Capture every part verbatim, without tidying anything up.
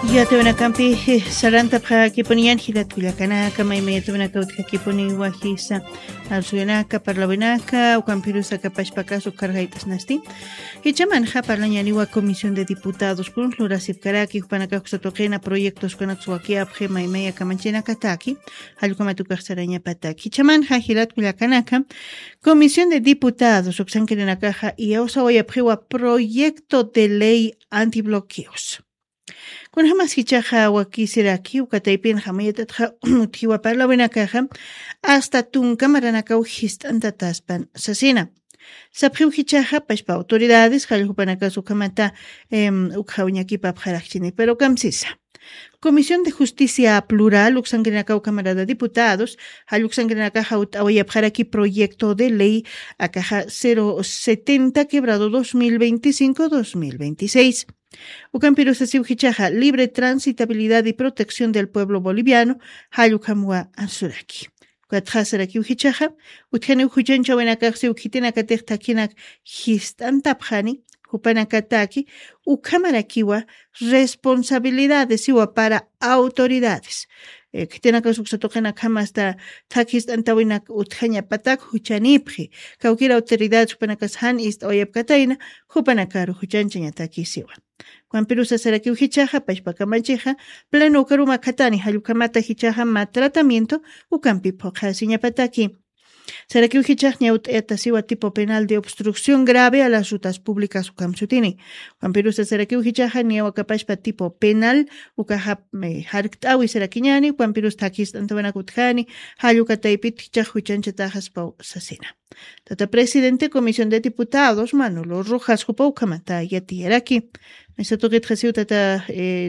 Yatawinakampi sarantapxakipuniñan jilatkullakanaka, maymayatawinaka utjakipuni wajisa arsuwinaka, parlawinaka, ukampirusa kapashpakas ukharjayp'asnasti. Jichamanxa parlañaniwa Comisión de Diputados kun lurasipkaraki jupanakax uksatuqina proyectos kunaks wakiyapxi maymaya kamanchinakataki, jallukamatukaq sarañapataki. Jichamanxa jilatkullakanaka, Comisión de Diputados uksankirinakaxa iyawsawayapxiwa proyecto de ley antibloqueos. Kunjamas jichaxa wakisiraki ukataypin jamayatatxa utjiwa parlawinakaxa, asta tunka maranakaw jist'antataspan sasina. Sapxiw jichaxa pashpa autoridades jallukupanakas ukhamata ukhaw ñakipapxarakchini pero kamsisa. Comisión de Justicia Plural uksankirinakaw camarada diputados, jalluksankirinakaxa ut'awayapxaraki proyecto de ley akaxa cero setenta quebrado dos mil veinticinco dos mil veintiséis. Ukampirusasiw jichaxa libre transitabilidad y protección del pueblo boliviano, jallukhamwa ansuraki. Ukatxasarakiw jichaxa utjaniw juchanchawinakaxsiw khitinakatix thakinak jist'antapxani, jupanakataki ukhamarakiwa responsabilidades siwa para autoridades. Khitinakas uksatuqinakhamasta thak jist'antawinak utjañapatak juchanipxi, kawkir autoridades jupanakas jan ist'awayapkatayna, jupanakaru juchanchañatakisiwa. Ukampirusasarakiw jichaxa pashpakamachixa pleno ukaruma khatani jallukhamata jichaxa ma tratamiento ukampi phuqhasiñapataki. Sarakiw jichax ñawt'ayatasiwa tipo penal de obstrucción grave a las rutas públicas ukamsutini. Ukampirusa sarakiw jichaxa ñawakapashpa tipo penal ukaxa jarkt'awi sarakiñani ukampirus thakist'antawanak utjani, jallukataypit jichax juchanchataxaspaw sasina. Tata presidente comisión de diputados manolo rojas jupa ukhamata yatiyaraki. Mesa tuqitxasiw tata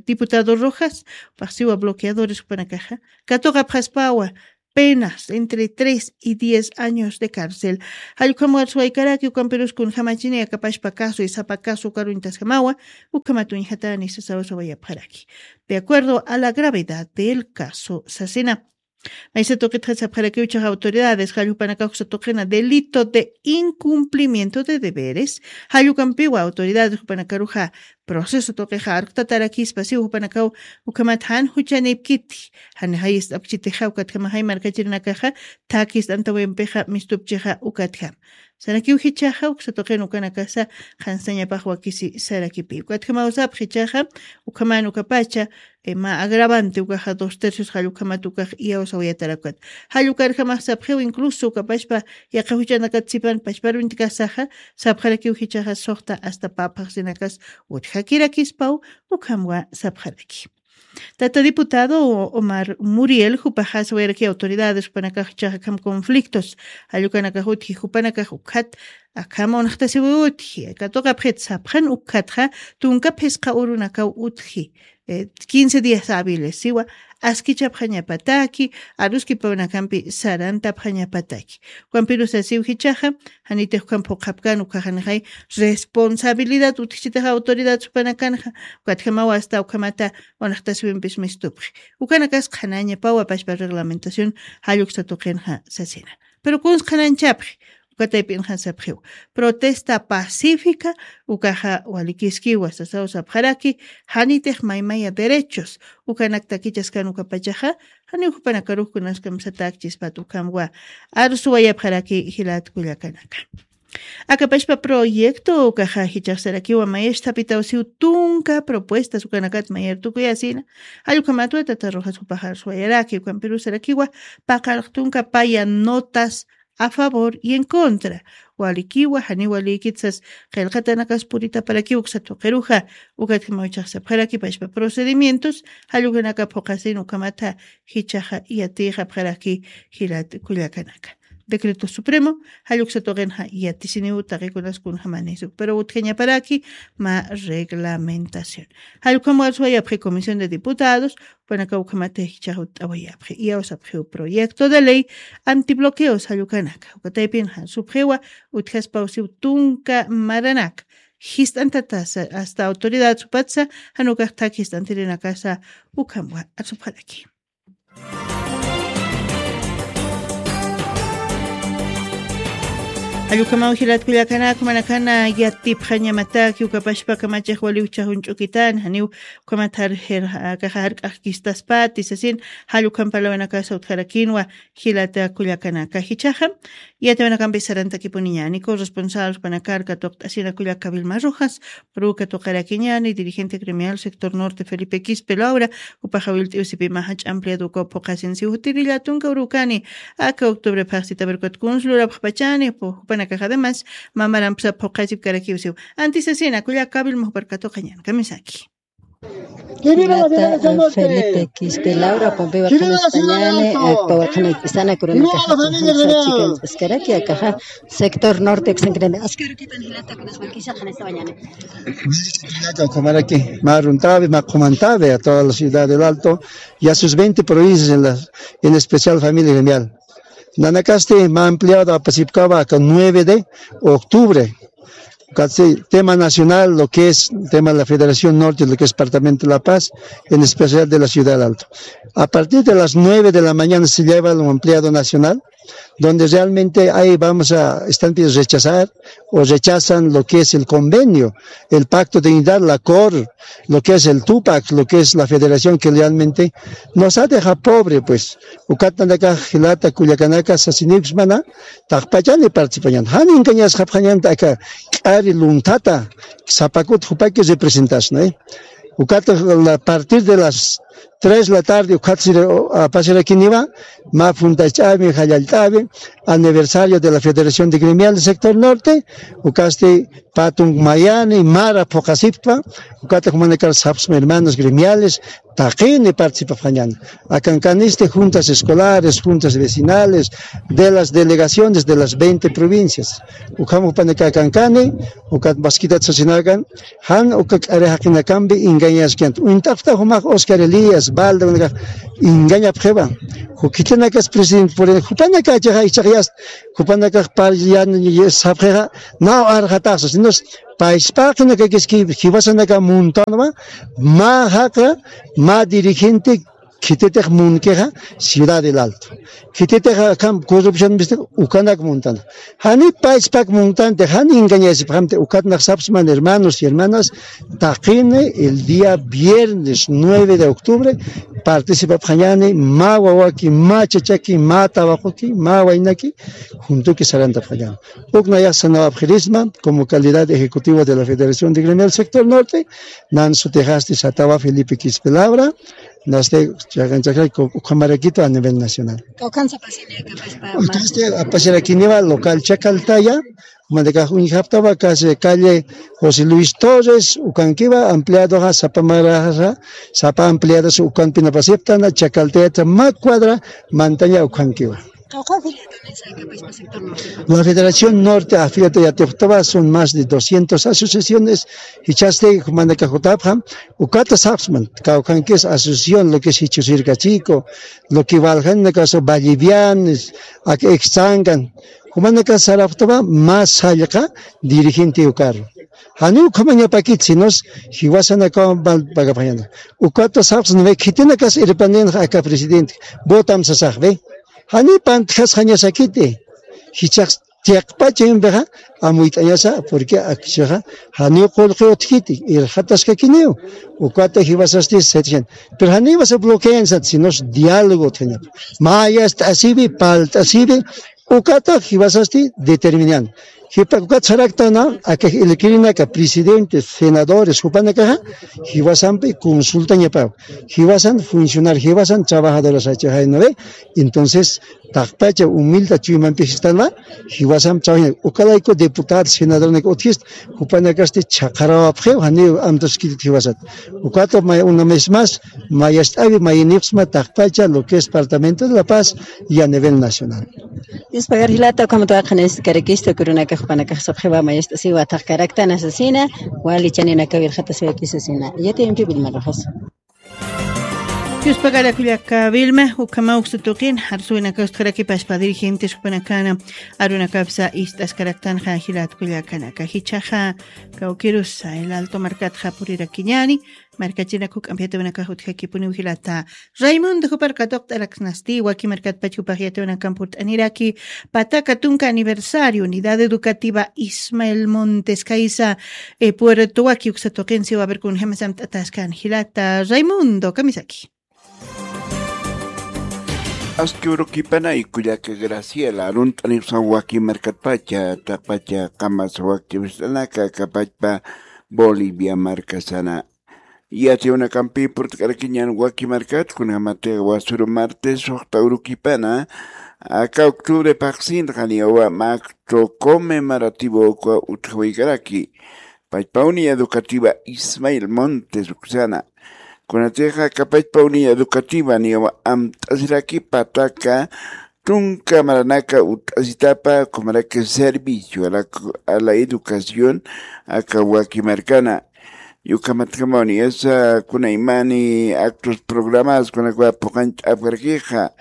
diputado rojas, paxsiwa bloqueadores jupanakaxa katuqapxaspawa penas entre tres y diez años de cárcel. Jallukhamwar suwaykaraki ukampirus kunjamachini akapashpa caso isapa caso ukaruñtasjamawa, ukhamatuñjatani sasawasawayapxaraki de acuerdo a la gravedad del caso sasina. Maysa tuqitxa sapxarakiw chaxa autoridades jallupanakax uksatuqina delito de incumplimiento de deberes. Jallukampiwa autoridades jupanakaruxa proceso tuqixa arktatarakispa siw jupanakaw ukhamat jan juchanipkiti, jan jayist'apkchitixa ukatjamaxay markachirinakaxa thakist'antawimpixa mistupchixa ukatjam. Sarakiw jichaxa uksatuqin ukanakasa qhanstañapax wakisi sarakipi ukatjamaw sapxi chaxa. Ukhaman ukapacha ma agravante ukaxa dos tercios jallukhamat ukax iyawsawayatarakat. Jallukarjamax sapxiw incluso ukapashpa yaqajuchanakat sipan pashparunti kasaxa sapxarakiw jichaxa suxta asta paphaxsinakas utjakirakispaw ukhamwa sapxaraki. Tata diputado omar muriel jupaxaswayaraki autoridades jupanakax jichaxa kham conflictos jallukanakax utji jupanakax ukhat akham unxtasiwi utji katuqapxit sapxan ukhatxa tunka phisqa urunakaw utji quince días habiles siwa askichapxañapataki aruskipawanakampi sarantapxañapataki. Ukampirusasiw jichaxa janitix ukham phuqhapkan ukhaxanixay responsabilidad utjichitaxa autoridad supanakanxa ukatjamawa asta ukhamata unxtasiwimpis mistupxi. Ukanakas qhanañapawa pashpa reglamentación jalluksatuqinxa sasina. Pero kuns qhananchapxi ukatayp'inxan sapxiw protesta pacífica ukaxa walikiskiwa sasaw sapxaraki janitix maymaya derechos ukanak takichaskan ukapachaxa janiw jupanakarux kunaskamsatakchispat ukhamwa arsuwayapxaraki jilat kullakanaka. Akapashpa proyecto ukaxa jichaxsarakiwa mayastapitawsiw tunka propuestas ukanakat mayartukuyasina. Jallukhamatwa tata rojas jupaxa arsuwayaraki ukampirusarakiwa paqalq tunka paya notas a favor y en contra walikiwa janiwa likitsas qillqatanakas puritaparakiw uksatuqiruxa. Ukatjamaw chaxsapxaraki pashpa procedimientos jallukanaka phuqasin ukhamatha jichaxa yatixapxaraki jilat kullakanaka. Decreto supremo jalluksatuqinxa yatisiniw taqikunas kunjamanisu pero utjañaparaki ma reglamentación. Jallukhamwar suwayapxi comisión de diputados jupanaka ukhamata jichaxa utt'awayapxi iyawsapxiw proyecto de ley antibloqueos jallukanaka ukataypinxa supxiwa utjaspawsiw tunka maranaka jist'antatasa asta autoridad supatsa janukaxtak jist'antirinakasa ukhamwa arsupxaraki. Jall ukhamaw jilat kullakanaka, jumanakana yatipxañamataki ukapashpa kamachix wali uchhaxun ch'ukitan, janiw ukhamat jar-, jer-, akaxa jark'axkistaspati sasin, jall ukham parlawinakasa utjarakinwa jilata kullakanaka. Jichhaxa yatiyawinakampi sarantakipuniñäni, corresponsal jupanakar katuqt'asina kullaka Vilma Rojas, Pruka tuqarakiñäni, dirigente gremial sector norte Felipe Quispe Laura, jupaxa Wilt'iwsipi mä jach'a ampliado ukaw phuqasinsi, jutirilla tunka urukani, aka octubre phaxsita berkut kunslurapxpachani, pu-, jupanakax además, mamaramsa phuqasipkarakiwsiw. Antisasina, kullaka Vilma jupar katuqañäni, kamisaki. Jilata, eh, Felipe Quispe Laura, Pompeo Arcángel Españane, eh, Pawar Janay Pisana, Corona Caja, Sachi, Canchascaraki, akaja, sector norte, Xancreme. Ascaruquitan jilata, con las vaquillas, Janay Españane. Jilata, ukamaraki, mä aruntawi, mä qhumantawi, a toda la ciudad del Alto y a sus veinte provincias, en la, en especial familia gremial. Nanakasti mä ampliado apasipkawa aka nueve de octubre. Casi tema nacional, lo que es tema de la Federación Norte, lo que es Departamento de La Paz, en especial de la Ciudad del Alto. A partir de las nueve de la mañana se lleva lo ampliado nacional, donde realmente ahí vamos a, están pidiendo rechazar o rechazan lo que es el convenio, el pacto de unidad, la cor, lo que es el Tupac, lo que es la federación que realmente nos ha dejado pobre, pues. Ukat nanakax jilata kullakanaka sasiniwsmana, taqpachani participañan. Jan engañasxapxañanta aka k'ari lunthata, sapakut jupaki representasna, ¿eh? Ukat a partir de las tres de la tarde, ukat sira, apasirakiniwa, mä fundach'awi, jallallt'awi, aniversario de la Federación de Gremial del Sector Norte, ukasti pä tunk mayani, mara phuqasipkta, ukata jumanakar sapxsma hermanos gremiales, taqini participapxañäni. Akankanisti juntas escolares, juntas vecinales, de las delegaciones de las veinte provincias. Ukham jupanaka akankani, ukat maskitat sasinakan, jan uka k'ari jaqinakampi engañaskanta. Uñt'apxta jumax Oscar Elías, Balda, jumanakax engañapxiwa. Jukitinakas presidente, por ejemplo, jupanakachaxa ichaxyast, jupanakax parllan sapxixa, naw arxataxa, sino payspaqinakakiski jiwasanaka muntanwa, mä jaqra, mä dirigente, khititix munkixa Ciudad del Alto. Khititix akham corrupción mistix ukanak muntana. Jani payspak muntanti, jani engañasipxamti, ukatnax sapsman hermanos y hermanas, taqini el día viernes nueve de octubre, participapxañäni, mä wawaki, mä chachaki, mä tawaquki, mä waynaki, juntuki sarantapxañäni. Uk nayax sanawapxirisma, como calidad ejecutivo de la Federación de Gremial Sector Norte, nan sutixasti satawa Felipe Quispe Laura, nasti chakan chakan ukhamarakita a nivel nacional. Kawkhansa pasini akapaspa. Entonces, apasirakiniwa local Chacaltaya, manakax uñjaptawa casi calle José Luis Torres, ukankiwa ampliadoxa sapa maraxa, sapa ampliados ukanpinapasiptana, Chacaltayata mä cuadra mantaña ukankiwa. La Federación Norte afiliada yatipxtawa son más de doscientas asociaciones, jichhasti jumanaka jutapxam, ukata sapsman, kawkhankis asociación, lo que es Jichhusirka Chico, lo que waljanakaso Vallivianes, ak Extangan, jumanaka sarapxtawa más sallqa dirigente ukaru. Jani ukhamañapakit, sinos jiwasanakaw mal pagapxañana. Ukata sapsman, ve, khitinakas irpanenx aka presidente, votam sasax, ve. Jani pantjasxañasakiti. Jichhax chiqpacha impixa amuyt'añasa, porque akchixa janiw qullqi utjkiti, irxataskakiniw. Ukata jiwasasti setecientos. Pero janiw wasa bloquean sat, sinos diálogo utjañapa. Mayast'asiwi, palt'asiwi, ukata jiwasasti determinan. Jipa ukat saraktana, akax ilkirinaka, presidentes, senadores, jupanakaxa, jiwasampi consultañapaw. Jiwasan funcionar, jiwasan trabajadoras achaxay, ¿no ve? Entonces, taqpacha humilde chuymampix istanwa, jiwasam trabajaña. Ukalayku diputado, senadornak utjist, jupanakasti chhaqarawapxiw, janiw amtaskitit jiwasat. Ukata may, una vez más, mayast'awi, mayinipxsma taqpacha, lo que es Departamento de La Paz y a nivel nacional. Dios pagar jilata, ukhamat waqhanayskarakistu, kurunaka jupanakax sapxiwa mayast'asiwa taqkaraktana sasina, wali chaninaka irxatasiwakis sasina. Yatiyampi Vilma Rojas. Yuspagara kullaka Vilma, ukhama uksa tuqin, arsuwinaka utjaraki pachpa dirigentes jupanakana, arunakapsa ist'askaraktanxa jilat kullakanaka. Jichhaxa kawkirusa, El Alto markatxa purirakiñani, markachinaku k'ampi yatawinakax utjakipuniw jilata. Raimundo jupar katuqt'araksnasti, waki markatpach jupax yatawinakan purt'aniraki, pataka tunka aniversario, Unidad Educativa Ismael Montes, kaysa, eh, Puerto Waki uksa tuqinsiwa, a ver, kunjämas amt'ataskan jilata. Raimundo, kamisaki. Aski urukipanay kullaka Graciela, arunt'anipsa waki markatpacha, taqpacha qamas wakch'ipist'anaka, kapachpa Bolivia markasana. Yatiyunakampi purt'karakiñan waki markat, kunjamatixa wasuru martes, suxta urukipana, aka octubre paqsinxa niyawa acto conmemorativo ukwa utjawaykaraki. Pachpa Unidad Educativa Ismael Montes uksana. Kunatixa aka pachpa Unidad Educativa niyawa amt'asiraki pataka tunka maranaka ut'asitapa, ukhamaraki servicio a la, a la educación, aka waki markana. Ukhamatjamaw niyasa kunaymani actos programados, kunakwa phuqañt'apkarakixa.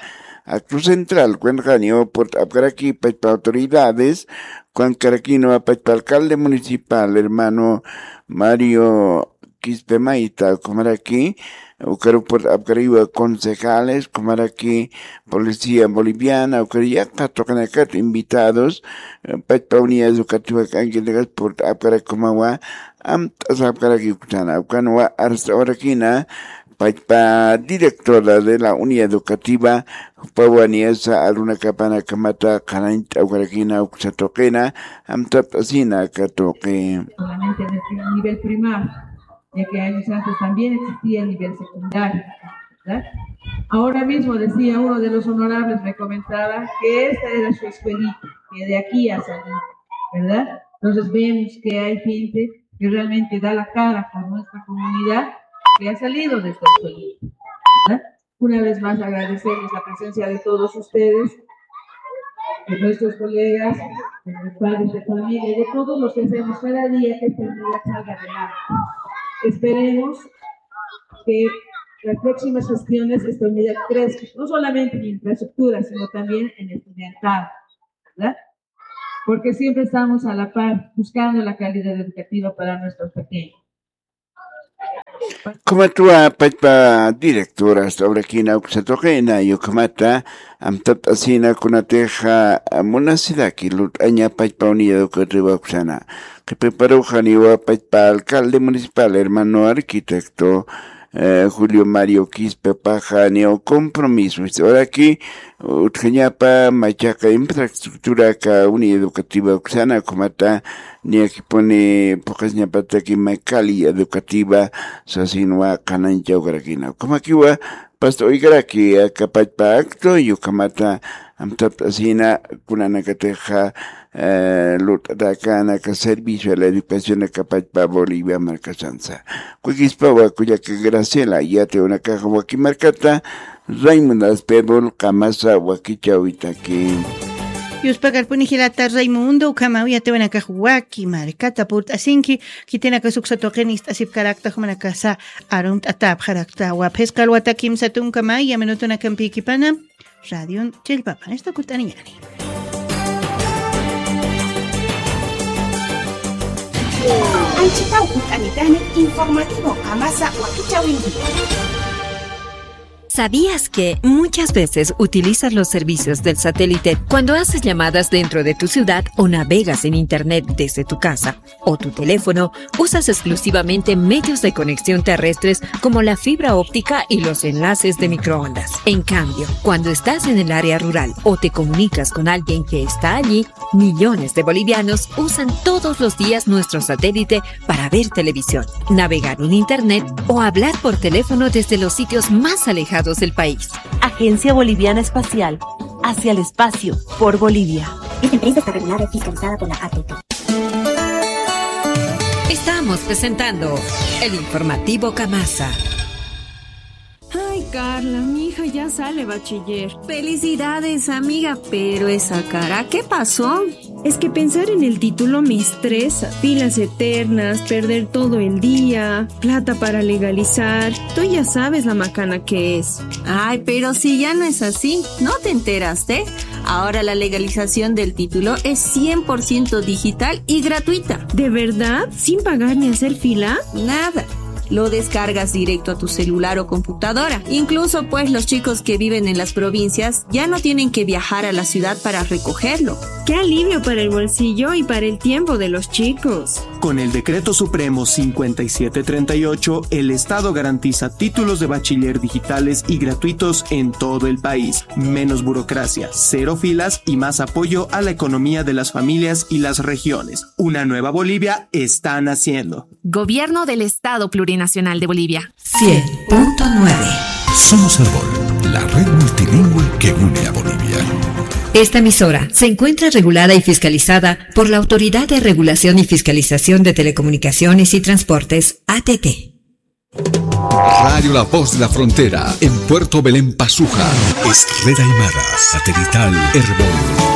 Acto central, kunatxa niyaw purt'apkaraki pachpa autoridades, kunankarakinwa pachpa alcalde municipal, hermano Mario Quispe Maita, ukhamaraki, ukaru purt'apkarakiwa concejales, ukhamaraki policía boliviana, ukar yaqha tuqinakat invitados, eh, pachpa Unidad Educativa k'ankinakas purt'apkaraki ukhamawa, amt'asapkaraki uksana, ukanwa arst'awarakina, pachpa directora de la Unidad Educativa, jupawa niyasa arunakapana kamata qhanañt'awkarakina uksa tuqina, amtapt'asina aka tuqi. Solamente en el nivel primario, ya que años antes también existía el nivel secundario, ¿verdad? Ahora mismo decía uno de los honorables, me comentaba que esta era su escuelita, que de aquí ha salido, ¿verdad? Entonces vemos que hay gente que realmente da la cara por nuestra comunidad, que ha salido de esta escuelita, ¿verdad? Una vez más agradecerles la presencia de todos ustedes, de nuestros colegas, de los padres de familia, de todos los que hacemos cada día que esta unidad salga adelante. Esperemos que las próximas gestiones esta unidad crezca, no solamente en infraestructura, sino también en estudiantado, ¿verdad? Porque siempre estamos a la par buscando la calidad educativa para nuestros pequeños. Ukhamatwa pachpa directora arst'awrakina uksa tuqina, ukhamata amtapt'asina kunatixa munasiraki lurt'aña pachpa Unidad Educativa uksana. Qhipiparuxa niyawa pachpa alcalde municipal, hermano arquitecto, eh, Julio Mario Quispepaxa niyaw compromiso ist'awaraki, utjañapa machaqa infraestructura aka Unidad Educativa uksana, ukhamata niyakipuni phuqasiñapataki mä calidad educativa sasinwa qhanañchawkarakina. Ukhamakiwa past'awaykaraki aka pachpa acto, ukhamata amtapt'asina kunanakatixa, eh, lurt'atäkän aka servicio a la educación aka pachpa Bolivia markasansa. Kullakispawa kullaka Graciela, yatiyunakaxa waki markata, Raimundo Aspebul, qamasa wakichäwitaki. Yuspakarpuni jilata Raimundo, ukhamaw yatiyunakax waki markata purt'asinki, khitinakas uksa tuqin ist'asipkarakta, jumanakasa arumt'atäpxarakta. Phisqa alwata kimsa tunka maya minutunakampïkipana, radion chillpapan istukurt'aniñäni. Anchhitaw utanitani informativo qamasa wakichäwinki. ¿Sabías que muchas veces utilizas los servicios del satélite cuando haces llamadas dentro de tu ciudad o navegas en internet desde tu casa o tu teléfono? Usas exclusivamente medios de conexión terrestres como la fibra óptica y los enlaces de microondas. En cambio, cuando estás en el área rural o te comunicas con alguien que está allí, millones de bolivianos usan todos los días nuestro satélite para ver televisión, navegar en internet o hablar por teléfono desde los sitios más alejados del país. Agencia Boliviana Espacial, hacia el espacio, por Bolivia. Esta empresa está regulada y fiscalizada por la A T T. Estamos presentando el informativo Kamasa. Ay, Carla, mi hija ya sale bachiller. Felicidades, amiga, pero esa cara, ¿qué pasó? Es que pensar en el título me estresa. Filas eternas, perder todo el día, plata para legalizar. Tú ya sabes la macana que es. Ay, pero si ya no es así, ¿no te enteraste? Ahora la legalización del título es cien por ciento digital y gratuita. ¿De verdad? ¿Sin pagar ni hacer fila? Nada. Lo descargas directo a tu celular o computadora. Incluso, pues, los chicos que viven en las provincias ya no tienen que viajar a la ciudad para recogerlo. Qué alivio para el bolsillo y para el tiempo de los chicos. Con el Decreto Supremo cincuenta y siete treinta y ocho, el Estado garantiza títulos de bachiller digitales y gratuitos en todo el país. Menos burocracia, cero filas y más apoyo a la economía de las familias y las regiones. Una nueva Bolivia está naciendo. Gobierno del Estado Plurinacional de Bolivia. Cien punto nueve. Somos Erbol, la red multilingüe que une a Bolivia. Esta emisora se encuentra regulada y fiscalizada por la Autoridad de Regulación y Fiscalización de Telecomunicaciones y Transportes, A T T. Radio La Voz de la Frontera, en Puerto Belén, Pazuja. Es red aymara, satelital, Erbol.